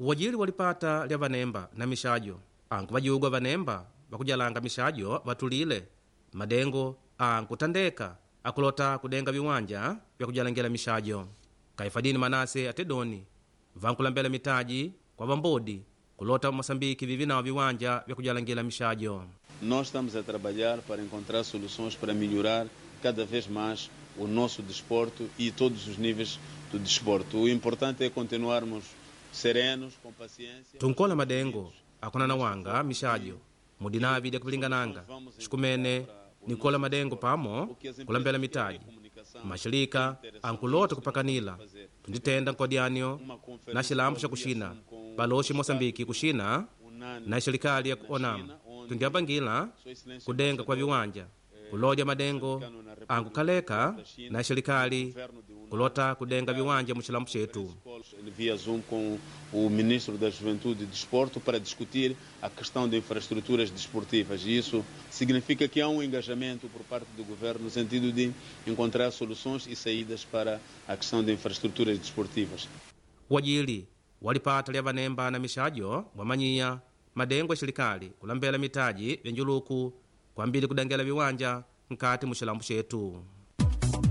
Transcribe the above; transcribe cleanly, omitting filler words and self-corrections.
Uwajili walipata lya vanemba na mishajo ankuvajugwa vanemba vakujalanga mishajo vatulile madengo ankutandeka akulota kudenga viwanja vya kujalangila mishajo. Kaifadini Manase atedoni vankulambela mitaji kwa vambodi kulota Mosambiki vivi nawo viwanja vya kujalangila mishajo. Nós estamos a trabalhar para encontrar soluções para melhorar cada vez mais o nosso desporto e todos os níveis do desporto. O importante é continuarmos serenos, com paciência. Tunkola madengo akunana wanga mishajo mudinavi dya kupilingananga xikumene nikola madengo pamo kulambela mitaji mashilika ankulota kupakanila tunditenda nkodyanio na xilambo xa kuxina baloxi Mosambiki kuxina na xelikali ya ku Onam tundyapangila kudenga kwa viwanja kulodya madengo ankukhaleka na xelikali kulota kudenga viwanja muxilambo xetu. Via Zoom com o Ministro da Juventude e Desporto para discutir a questão de infraestruturas desportivas. E isso significa que há um engajamento por parte do governo no sentido de encontrar soluções e saídas para a questão de infraestruturas desportivas. Wajili walipata lya vanemba na mixajo wamanyiya madengo ya xelikali kulambela mitaji vya njuluku kwambili kudengela viwanja nkati muxilambo xetu.